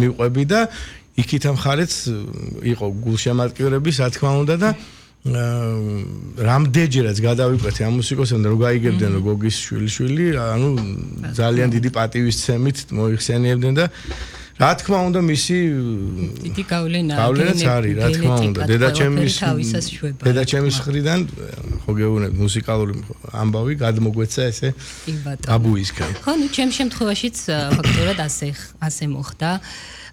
მივყვები და იქით მხარეც იყო გულშემატკივრები, რა თქმა უნდა და რამდენჯერაც გადავიყვეთ ამ მუსიკოსებთან რომ გაიგებდნენ რომ გოგის შვილიშვილი, ანუ ძალიან დიდი პატივისცემით მოიხსენიებდნენ და რა თქმა უნდა მისი დიდი გავლენაა არის, რა თქმა უნდა დედაჩემის მხრიდან ხო გეუბნები მუსიკალური ამბავი გადმოგვეცა ესე აბუისგან. ხო, ნუ ჩემ შემთხვევაშიც ფაქტობრივად ასე მოხდა.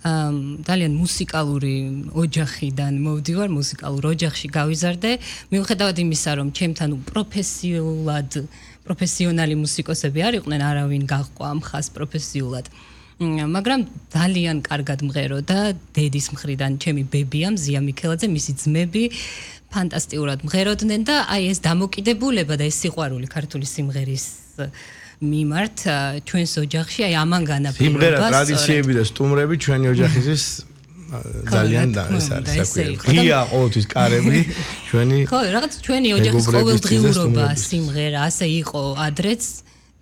ძალიან მუსიკალური ოჯახიდან მოვდივარ, მუსიკალურ ოჯახში გავიზარდე. მიუხედავად იმისა, რომ ჩემთან პროფესიონალი მუსიკოსები არ იყვნენ, არავინ გაჰყვა ამ ხას პროფესიულად. მაგრამ ძალიან კარგად მღეროდა დედის მხრიდან ჩემი ბებია მზია მიქელაძე, მისი ძმები ფანტასტიკურად მღეროდნენ და აი ეს დამოკიდებულება და ეს სიყვარული ქართული სიმღერის მიმართ ჩვენს ოჯახში აი ამან განაპირობა. სიმღერა, ტრადიციები და სტუმრები ჩვენი ოჯახისთვის ძალიან ეს არის საკვირველი. ღია ყოველთვის კარები ჩვენი ხო, რაღაც ჩვენი ოჯახის ყოველდღიურობა სიმღერა ასე იყო ადრეც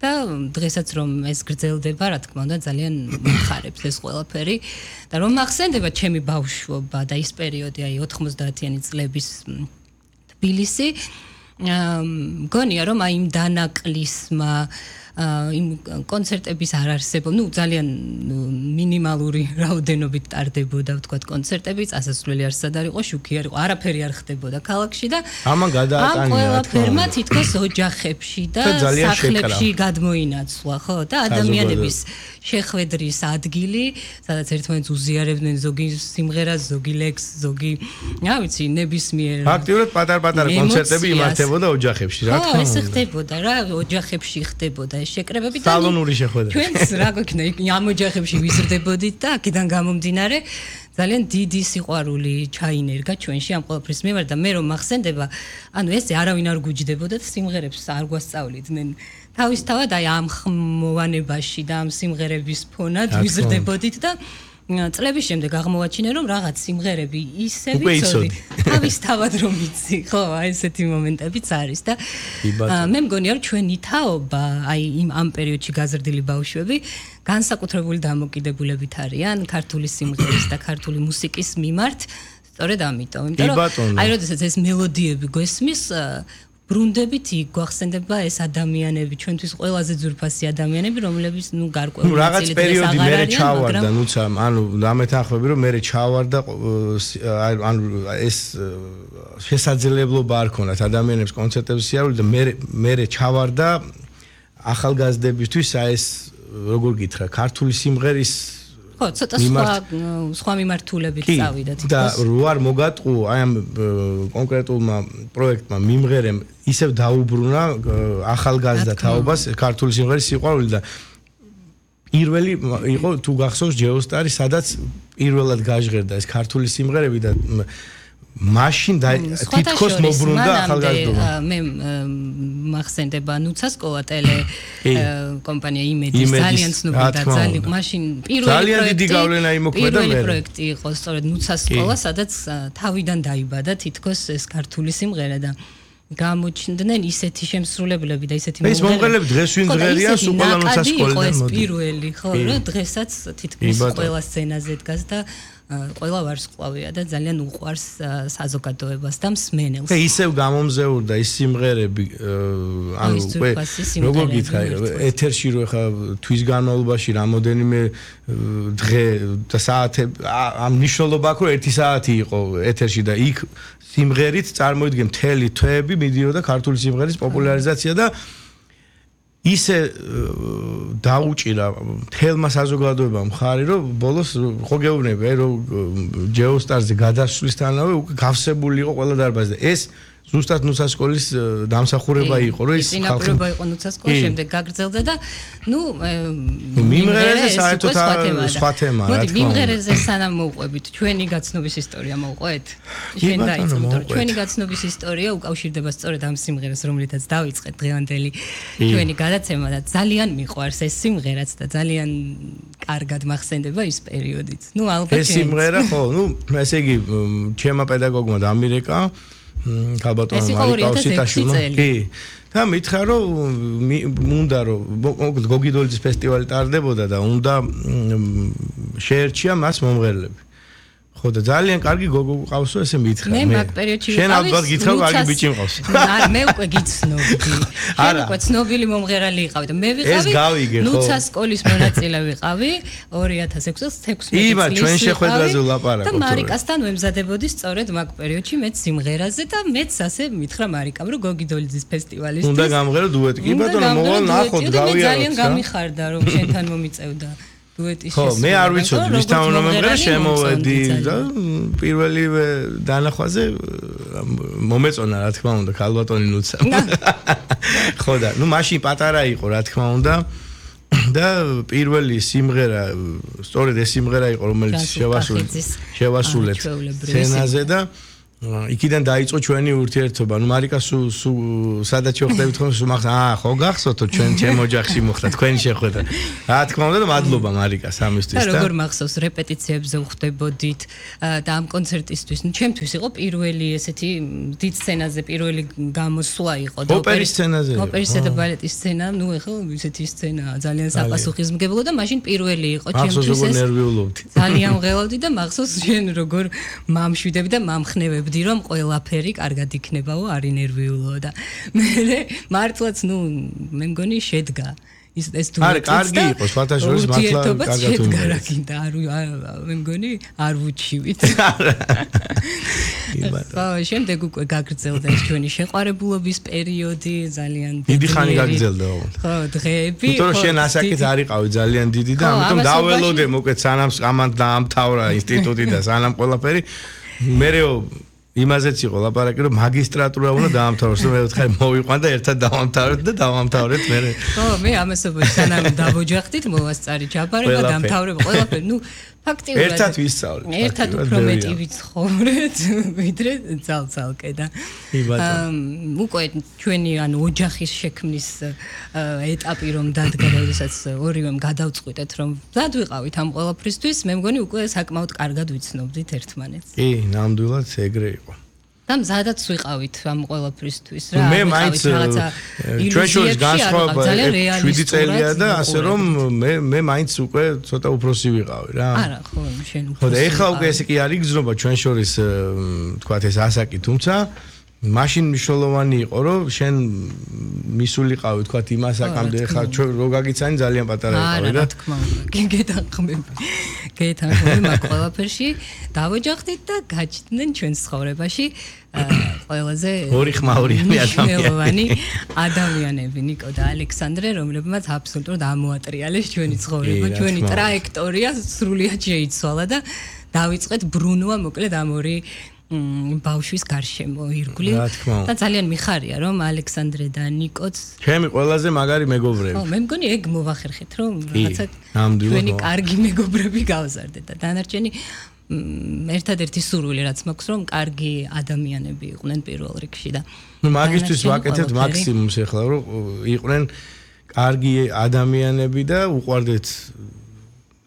და დღესაც რომ ეს გრძელდება, რა თქმა უნდა, ძალიან მხარებს ეს ყველაფერი და რომ ახსენდება ჩემი ბავშვობა და ის პერიოდი, აი 90-იანი წლების თბილისი, მგონია რომ აი იმ დანაკლისმა იმ კონცერტების არ არსებობა, ნუ ძალიან მინიმალური რაოდენობით ტარდებოდა, ვთქვათ, კონცერტები, წასასვლელი არსად არ იყო, შუქი არ იყო, არაფერი არ ხდებოდა ქალაქში და ამან გადაატანია ამ ყველაფერმა თითქოს ოჯახებში და სახლებში გადმოინაცვლა, ხო? და ადამიანების შეხვედრის ადგილი, სადაც ერთმანეთს უზიარებდნენ ზოგი სიმღერას, ზოგი ლექსს, ზოგი, რა ვიცი, ნებისმიერ ფაქტიურად პატარ-პატარა კონცერტები იმართებოდა ოჯახებში, რა თქმა უნდა. ეს ხდებოდა რა, ოჯახებში ხდებოდა ეს შეკრებები და სალონური შეხვედრა. ჩვენს რა გვექნა ამ ოჯახებში ვიზრდებოდით და აქედან გამომდინარე ძალიან დიდი სიყვარული ჩაინერგა ჩვენში ამ ყველაფრის მიმართ და მე რომ მახსენდება, ანუ ესე არავინ არ გუჯდებოდა და სიმღერებს არ გვასწავლიდნენ. თავისთავად აი ამ ხმოვანებაში და ამ სიმღერების ფონად ვიზრდებოდით და წლების შემდეგ აღმოვაჩინე რომ რაღაც სიმღერები ისე ვიცოდი თავისთავად რომ ვიცი ხო აი ესეთი მომენტებიც არის და მე მგონია რომ ჩვენი თაობა აი ამ პერიოდში გაზრდილი ბავშვები განსაკუთრებული დამოკიდებულებით არიან ქართული სიმღერის და ქართული მუსიკის მიმართ სწორედ ამიტომ იმიტომ რომ აი როდესაც ეს მელოდიები გვესმის ბრუნდებით გვახსენდება ეს ადამიანები ჩვენთვის ყველაზე ძვირფასი ადამიანები რომლებიც ნუ გარკვეული რაღაც პერიოდი მერე ჩავარდა ნუცა ანუ დამეთანხმები რომ მერე ჩავარდა ანუ ეს შესაძლებლობა არ ქონათ ადამიანებს კონცერტების სიარული და მერე ჩავარდა ახალგაზრდებისთვის აი ეს როგორ გითხრა ქართული სიმღერის ხო ცოტა სხვა მიმართულებით წავიდა თითქოს და რო არ მოგატყუ აი ამ კონკრეტულმა პროექტმა მიმღერემ ისევ დაუბრუნა ახალგაზრდა თაობას ქართული სიმღერის სიყვარული და პირველი იყო თუ გახსოვს ჯეოსტარი სადაც პირველად გაჟღერდა ეს ქართული სიმღერები და მაშინ და თითქოს მობრუნდა ახალგაზრდობა მე მახსენდება ნუცას კოატელე კომპანია იმედი ძალიან ცნობილი და ძალიან მაშინ ძალიან დიდი გავლენა იმოქმედა მე პირველი პროექტი იყო სწორედ ნუცას სკოლა სადაც თავიდან დაიბადა თითქოს ეს ქართული სიმღერა და გამოჩნდნენ ისეთი შემსრულებლები და ისეთი მომღერლები დღეს ვინ ძლიერია სუპოლა ნუცას სკოლიდან მოდი პირველი ხო რა დღესაც თითქმის ყველა სცენაზე დგას და ყველა ვარსკვლავია და ძალიან უყვარს საზოგადოებას და მსმენელს. და ისევ გამომზეურდა ის სიმღერები ანუ როგორ გითხრა ეთერში რო ხა თვის განმავლობაში რამოდენიმე დღე და საათები ამ ნიშნულობა აქვს რომ 1 საათი იყო ეთერში და იქ სიმღერით წარმოიდგენ მთელი თვეები მიდიოდა ქართული სიმღერის პოპულარიზაცია და ისე დაუჭირა თელმა საზოგადოებამ ხარი რომ ბოლოს ხო გეუბნები რომ ჯეოსტარზე გადასვლისთანავე უკვე გავსებული იყო ყველა დარბაზი და ეს ზუსტად ნუცას სკოლის დამსახურება იყო რომ ის ხალხობა იყო ნუცას სკოლა შემდეგ გაგრძელდა და ნუ მიმღერეზე საერთოდ სხვა თემაა რა თქმა უნდა მიმღერეზე სანამ მოვყვებით ჩვენი გაცნობის ისტორია მოვყვეთ ჩვენ დაიწყეთ ჩვენი გაცნობის ისტორია უკავშირდება სწორედ ამ სიმღერას რომლითაც დავიწყეთ დღევანდელი ჩვენი გადაცემა და ძალიან მიყვარს ეს სიმღერაც და ძალიან კარგად მახსენდება ის პერიოდიც ნუ ალბათ ეს სიმღერა ხო ნუ ესე იგი ჩემმა პედაგოგმა დამირეკა ალბათ მარიკა ოსიტაშვილმა კი და მითხრა რომ უნდა რომ გოგიდოლიძის ფესტივალი ტარდებოდა და უნდა შეერჩია მას მომღერლები. ხო და ძალიან კარგი გოგო ყავსო ესე მითხრა მე მაგ პერიოდში შენ ალბათ გითხრა კარგი ბიჭი მყავს მე უკვე გიცნობდი შენ უკვე ცნობილი მომღერალი იყავი და მე ვიყავი ნუცა სკოლის მონაწილე ვიყავი 2006 წელს იმა ჩვენ შეხვედრაზე ვლაპარაკობთ და მარიკასთან ვემზადებოდი სწორედ მაგ პერიოდში მეც სიმღერაზე და მეც ასე მითხრა მარიკამ რომ გოგიდოლიძის ფესტივალისთვის უნდა გამღერო დუეტი კი ბატონო მოვალ ნახოთ გავიაროთ მე ძალიან გამიხარდა რომ შენთან მომიწევდა დუეტის ხო მე არ ვიცოდი ვისთან უნდა მომღერო შემოვედი და პირველივე დანახვაზე მომეწონა რა თქმა უნდა ქალბატონი ნუცა ხო და ნუ მაშინ პატარა იყო რა თქმა უნდა და პირველი სიმღერა სწორედ ეს სიმღერა იყო რომელიც შევასრულეთ სცენაზე და იქიდან დაიწყო ჩვენი ურთიერთობა. ნუ მარიკა სულ სადაც ვხვდებით ხოლმე სულ მახსოვს. ხო გახსოვთო ჩვენ ჩემ ოჯახში მოხდა თქვენი შეხვედრა. რა თქმა უნდა და მადლობა მარიკას ამისთვის და როგორ მახსოვს რეპეტიციებზე ვხვდებოდით და ამ კონცერტისთვის. ნუ ჩემთვის იყო პირველი ესეთი დიდ სცენაზე პირველი გამოსვლა იყო და ოპერის სცენაზე. ოპერისა და ბალეტის სცენა, ნუ ეხლა ესეთი სცენა ძალიან საპასუხისმგებლო და მაშინ პირველი იყო ჩემთვის ეს. ძალიან მღელავდი და მახსოვს შენ როგორ მამშვიდები და მამხნევები რომ ყველაფერი კარგად იქნებაო, არ ინერვიულო და მე მართლაც ნუ მე მგონი შედგა ეს თუ არა კარგი იყო სხვათაშორის მართლა კარგად უნდა მე მგონი არ ვუჩივით ხო შემდეგ უკვე გაგრძელდა ეს ჩვენი შეყვარებულობის პერიოდი ძალიან დიდი ხანი გაგრძელდა ხო დღეები თუმცა შენ ასაკით არ იყავი ძალიან დიდი და ამიტომ დაველოდე მოკეთ სანამ ამან დაამთავრა ინსტიტუტი და სანამ ყველაფერი მერეო იმაზეც იყო ლაპარაკი რომ მაგისტრატურა უნდა დაამთავროს და მე ვთხარი მოვიყვან და ერთად დავამთავრეთ და დავამთავრეთ მე ხო მე ამასობაში სანამ დავოჯახდით მოვასწარი ჯაბარე და დამთავრებ ყველაფერი ნუ ფაქტიურად ერთად ვისწავლეთ ერთად უფრო მეტი ვიცხოვრეთ ვიდრე ძალ-ძალკე და უკვე ჩვენი ანუ ოჯახის შექმნის ეტაპი რომ დადგა და როდესაც ორივემ გადავწყვიტეთ რომ მზად ვიყავით ამ ყველაფრისთვის მე მგონი უკვე საკმაოდ კარგად ვიცნობდით ერთმანეთს კი ნამდვილად ეგრე იყო და მზადაც ვიყავით ამ ყველაფრისთვის რა მე მაინც ჩვენ შორის განსხვავება 7 წელია და ასე რომ მე მაინც უკვე ცოტა უფროსი ვიყავი რა არა ხო შენ უფროსი ხო და ეხლა უკვე ესე კი არ იგრძნობა ჩვენ შორის თქვათ ეს ასაკი თუმცა მაშინ მნიშვნელოვანი იყო რომ შენ მისულიყავი თქვათ იმ ასაკამდე ეხლა ჩვენ რო გაგიცანი ძალიან პატარა იყავი რა თქმა უნდა გეთანხმები მაგ ყველაფერში დავოჯახდით და გაჩნდნენ ჩვენს ცხოვრებაში ყველაზე ორი ხმაურიანი ადამიანები ნიკო და ალექსანდრე რომლებმაც აბსოლუტურად ამოატრიალეს ჩვენი ცხოვრება ჩვენი ტრაექტორია სრულიად შეიცვალა და დავიწყეთ ბრუნვა მოკლედ ამ ორი ბავშვის გარშემო ირგვლივ და ძალიან მიხარია რომ ალექსანდრე და ნიკოც ჩემი ყველაზე მაგარი მეგობრები ხო მე მგონი ეგ მოვახერხეთ რომ რაღაცა ჩვენი კარგი მეგობრები გავზარდეთ და დანარჩენი ერთადერთი სურვილი რაც მაქვს რომ კარგი ადამიანები იყვნენ პირველ რიგში და ნუ მაგისთვის ვაკეთებთ მაქსიმუმს ეხლა რომ იყვნენ კარგი ადამიანები და უყვარდეთ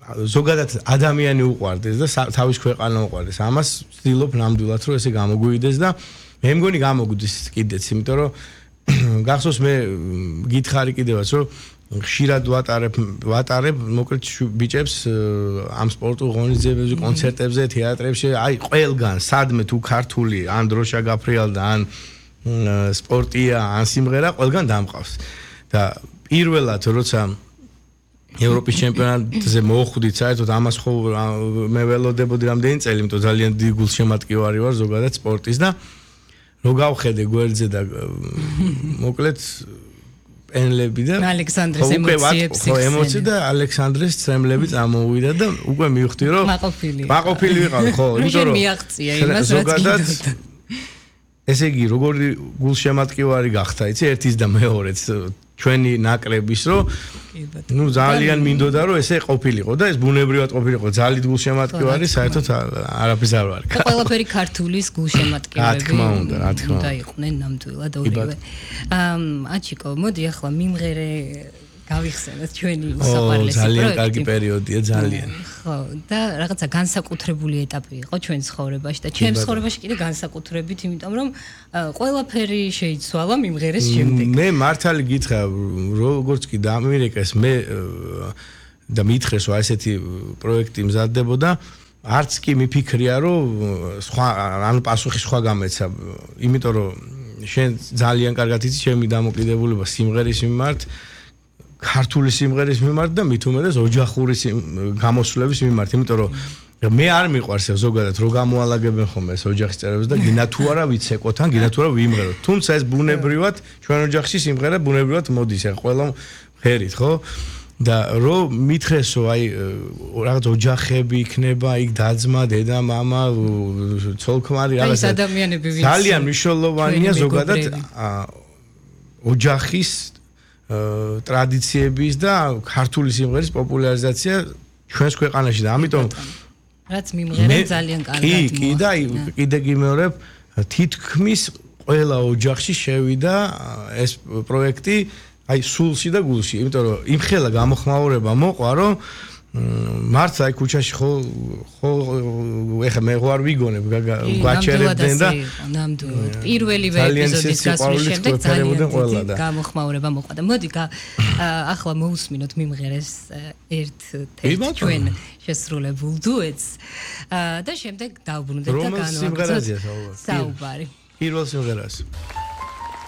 ზოგადად ადამიანი უყვარდეს და თავის ქვეყანა უყვარდეს. ამას ვცდილობ ნამდვილად რომ ესე გამოგვიდეს და მე მგონი გამოგვიდეს კიდეც, იმიტომ რომ გახსოვს მე გითხარი კიდევაც რომ ხშირად ვატარებ მოკლედ ბიჭებს ამ სპორტულ ღონისძიებებზე, კონცერტებზე, თეატრებში, აი ყველგან, სადმე თუ ქართული, ან დროშა გაფრიალდა, ან სპორტია, ან სიმღერა, ყველგან დამყავს. და პირველად როცა ევროპის ჩემპიონატზე მოხვდით საერთოდ ამას ხო მე ველოდებოდი რამდენი წელი, იმიტომ ძალიან დიდი გულშემატკივარი ვარ ზოგადად სპორტის და რო გავხედე გვერდზე და მოკლედ პენლები და ალექსანდრეს ემოციებს ხო ემოცი და ალექსანდრეს ცრემლები წამოვიდა და უკვე მივხვდი რომ მაყოფილი ვიყავ ხო იმიტომ რომ მიაღწია იმას რაც გინდოდა ესე იგი როგორი გულშემატკივარი გახდა იცი ერთის და მეორეც ჩვენი ნაკრების რომ ნუ ძალიან მინდოდა რომ ესე ყოფილიყო და ეს ბუნებრივად ყოფილიყო ძალიან გულშემატკივარი საერთოდ არაფერს არ ვარ და ყველაფერი ქართულის გულშემატკივრები რა თქმა უნდა იყვნენ ნამდვილად ორივე აჩიკო მოდი ახლა მიმღერე გავიხსენოთ ჩვენი უსაყვარლესი პროექტი. ძალიან კარგი პერიოდია, ძალიან. ხო, და რაღაცა განსაკუთრებული ეტაპი იყო ჩვენ ცხოვრებაში და ჩემს ცხოვრებაში კიდე განსაკუთრებით, იმიტომ რომ ყველაფერი შეიცვალა მიმღერეს შემდეგ. მე მართალი გითხრა, როგორც კი დაამერიკეს მე და მითხრეს, რომ ესეთი პროექტი მზადდებოდა, არც კი მიფიქრია, რომ სხვა ანუ პასუხი სხვა გამეცა, იმიტომ რომ შენ ძალიან კარგად იცი ჩემი დამოკიდებულება სიმღერის მიმართ, ქართული სიმღერის მიმართ და მით უმეტეს ოჯახური გამოსვლების მიმართ, იმიტომ რომ მე არ მიყვარს ზოგადად რო გამოალაგებენ ხოლმე ეს ოჯახის წევრებს და გინა თუ არა ვიცეკოთ ან გინა თუ არა ვიმღეროთ. თუმცა ეს ბუნებრივად ჩვენ ოჯახში სიმღერა ბუნებრივად მოდის, ახლა ყველა ღერით, ხო? და რო მითხრესო აი რაღაც ოჯახები იქნება, იქ დაძმა, დედა, მამა, ცოლ-ქმარი, რაღაც ადამიანები ვინც ძალიან მნიშვნელოვანია ზოგადად ოჯახის ტრადიციების და ქართული სიმღერის პოპულარიზაცია ჩვენს ქვეყანაში და ამიტომ რაც მიმღერენ ძალიან კარგად. კი და კიდე გიმეორებ თითქმის ყველა ოჯახში შევიდა ეს პროექტი აი სულში და გულში, იმიტომ რომ იმხელა გამოხმაურება მოყვა, რომ მართლა აი ქუჩაში ხო ეხა მე ვარ ვიგონებ გაჩერებდნენ და ნამდვილად პირველივე ეპიზოდის გასვლის შემდეგ ძალიან გამოხმაურება მოყვა და მოდი ახლა მოусმინოთ მიმღერეს ერთ-ერთ ჩვენ შესრულებულ დუეტს და შემდეგ დავბრუნდეთ და განვაგრძელოთ საუბარი. პირველ სიმღერას